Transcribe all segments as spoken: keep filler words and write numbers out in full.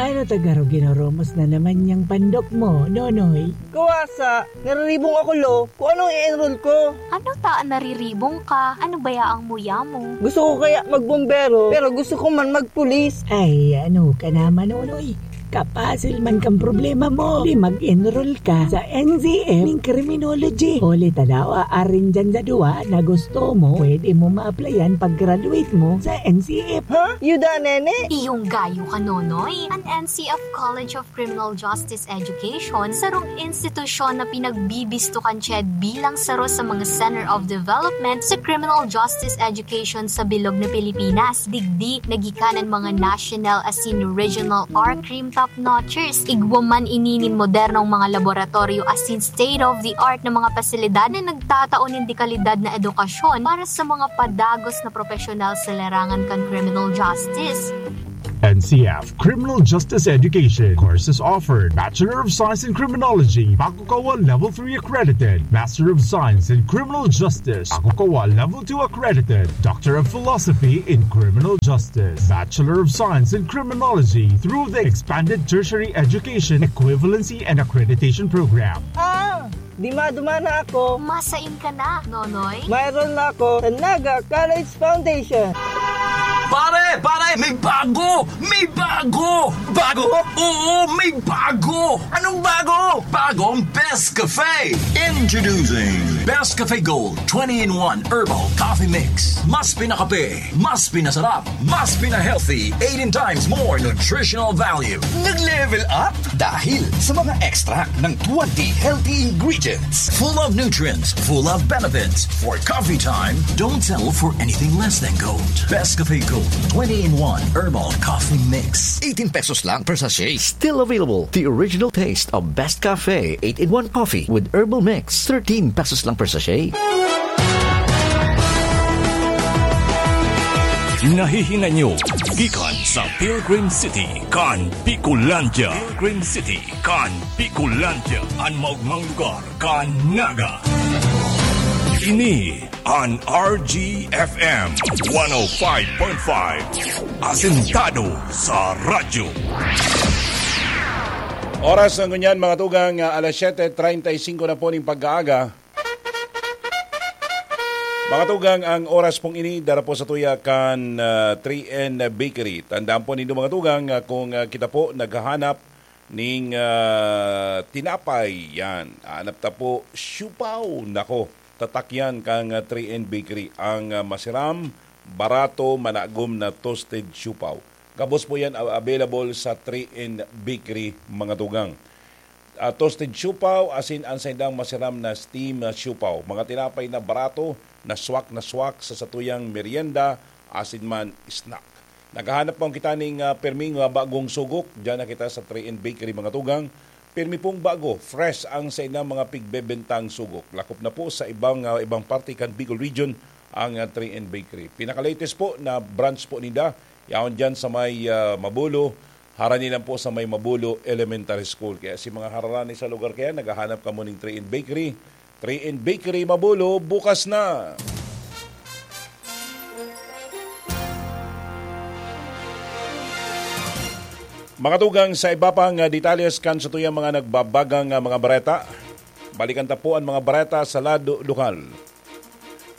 Ano ta garo ginoromos na naman yang pandok mo, Nonoy? Kawasa, nariribong ako, lo. Kung anong i-enroll ko? Ano ta an nariribong ka? Ano baya ang muya mo? Gusto ko kaya magbombero, pero gusto ko man magpulis. Ay, ano ka naman, Nonoy? Kapasil man kang problema mo. Di mag-enroll ka sa N C F ning criminology. Huli ta daw, aarin dyan sa duwa na gusto mo, pwede mo ma-applyan pag-graduate mo sa N C F. Ha? Yuda, nene? Iyong gayo ka, Nonoy. An N C F College of Criminal Justice Education, sarong institusyon na pinagbibisto kan CHED bilang saro sa mga Center of Development sa Criminal Justice Education sa bilog na Pilipinas. Digdi, nagikanan mga national asin regional R-Crime top notchers. Igwa man ini nin modernong mga laboratoryo asin state-of-the-art na mga pasilidad na nagtatao nin dekalidad na edukasyon para sa mga padagos na profesional sa larangan kan criminal justice. N C F Criminal Justice Education. Courses offered: Bachelor of Science in Criminology, Bakukawa Level three accredited; Master of Science in Criminal Justice, Bakukawa Level two accredited; Doctor of Philosophy in Criminal Justice, Bachelor of Science in Criminology through the Expanded Tertiary Education Equivalency and Accreditation Program. Ah, di madumana ako. Masain ka na, Nonoy. Mayroon na ako sa Naga College Foundation. Pare, pare, may bago! May bago! Bago? Oo, may bago! Anong bago? Bagong Best Cafe! Introducing Best Cafe Gold twenty-in-one Herbal Coffee Mix. Mas pinakape, mas pinasarap, mas pina-healthy, eighteen times more nutritional value. Nag-level up dahil sa mga extract ng twenty healthy ingredients. Full of nutrients, full of benefits. For coffee time, don't settle for anything less than gold. Best Cafe Gold twenty-in-one Herbal Coffee Mix. Eighteen pesos lang per sachet. Still available, the original taste of Best Cafe eight-in-one Coffee with Herbal Mix. Thirteen pesos lang per sachet. Nahihinay nyo gikan sa Pilgrim City kan Bicolandia. Pilgrim City kan Bicolandia, an maogmang lugar kan Naga. Ini an R G F M one oh five point five, asentado sa radyo. Oras na ngunyan, mga tugang, ah, alas siyete treinta y cinco na po ning pag-aaga. Mga tugang, ang oras pong ini, dara po sa tuya kan, ah, three N Bakery. Tandaan po nindo, mga tugang, ah, kung, ah, kita po naghahanap ning, ah, tinapay, yan. Hanap ta po, siopao. Nako, tatak yan kang, ah, three N Bakery. Ang, ah, masiram, barato, managom na toasted siopao. Gabos po yan, a-, available sa three N Bakery, mga tugang. Ah, toasted siopao, asin an saindang masiram na steam na siopao. Mga tinapay na barato, na swak na swak sa satuyang merienda, asin man snack. Naghahanap pong kita ning, ah, perming, ah, bagong sugok. Diyan na kita sa three N Bakery, mga tugang. Permi pong bago, fresh ang saindang mga pigbebentang sugok. Lakop na po sa ibang, ah, ibang parte kan Bicol Region ang, ah, three N Bakery. Pinaka-latest po na branch po ninda, yaon diyan sa may, ah, Mabulo, harani lang po sa may Mabulo Elementary School. Kaya si mga harani sa lugar kaya, naghahanap kamo ning three N Bakery. Three N Bakery Mabulo, bukas na! Mga tugang, sa iba pang, ah, detalles kan satuyang mga nagbabagang, ah, mga bareta, balikan ta po an mga bareta sa lado lokal.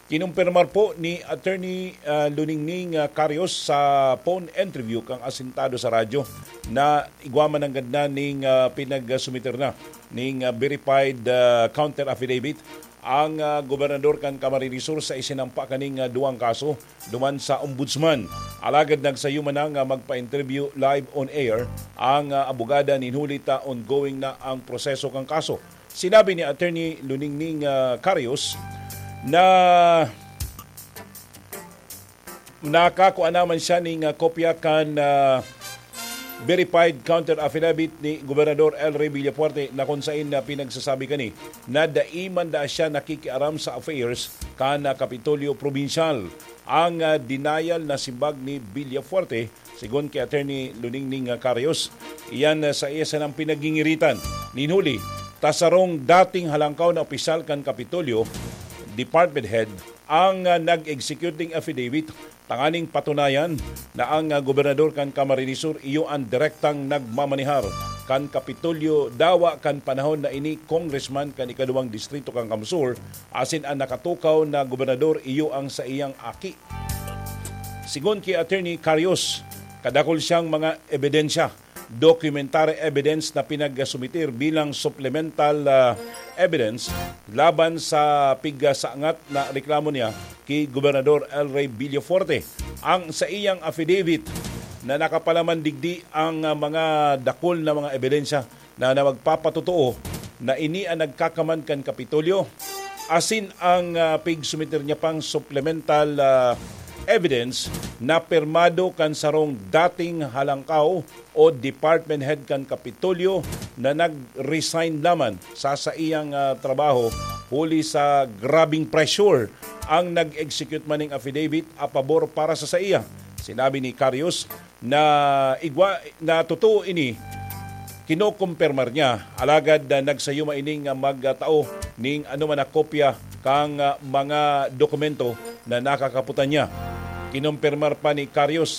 Kinumpirmar po ni Attorney, ah, Luningning, ah, Carios sa phone interview kan asentado sa radyo na igwa man nanggad na ning, ah, pinagsumiter na ning, ah, verified, ah, counter affidavit ang, ah, gobernador kan Camarines Sur sa isinampa kaning, ah, duwang kaso duman sa Ombudsman. Alagad nagsayo man na nga magpa-interview live on air ang, ah, abogada nin huli ta ongoing na ang proseso kan kaso. Sinabi ni Attorney Luningning, ah, Carios na nakakua naman siya ning, ah, kopya kan, ah, verified counter affidavit ni Gobernador El Rey Villafuerte na kun sain na pinagsasabi kani na dai man daa siya nakikiaram sa affairs kan, ah, Kapitolyo Probinsyal. Ang, ah, denial na simbag ni Villafuerte, sigon ki Attorney Luningning, ah, Carios, iyan, ah, sa iya sanang pinagingiritan nin huli ta sarong dating halangkaw na opisyal kan Kapitolyo, department head, ang, ah, nag-execute ning affidavit tanganing patunayan na ang, ah, gobernador kan Camarines Sur iyo an direktang nagmamanehar kan Kapitolyo, dawa kan panahon na ini congressman kan ikaduwang distrito kan Camsur, asin an nakatukaw na gobernador iyo ang saiyang aki. Sigon ki Attorney Carius, kadakul siyang mga ebidensya, documentary evidence na pinagsumiter bilang supplemental, ah, evidence laban sa pigsaangat na reklamo niya ki Gobernador El Rey Villafuerte. Ang saiyang affidavit na nakapalaman digdi ang, ah, mga dakul na mga ebidensya na, na magpapatotoo na ini an nagkakaman kan Kapitolyo, asin ang, ah, pigsumiter niya pang supplemental, ah, evidence na pirmado kan sarong dating halangkaw o department head kan Kapitolyo na nag-resign laman sa saiyang, ah, trabaho huli sa grabing pressure ang nag-execute man ning affidavit a pabor para sa saiya. Sinabi ni Carius na igwa na totoo ini, kinokompirmar niya, alagad, ah, nagsayuma ining, ah, magtao ning anoman na kopya kan, ah, mga dokumento na nakakapotan niya. Kinompirmar pa ni Carius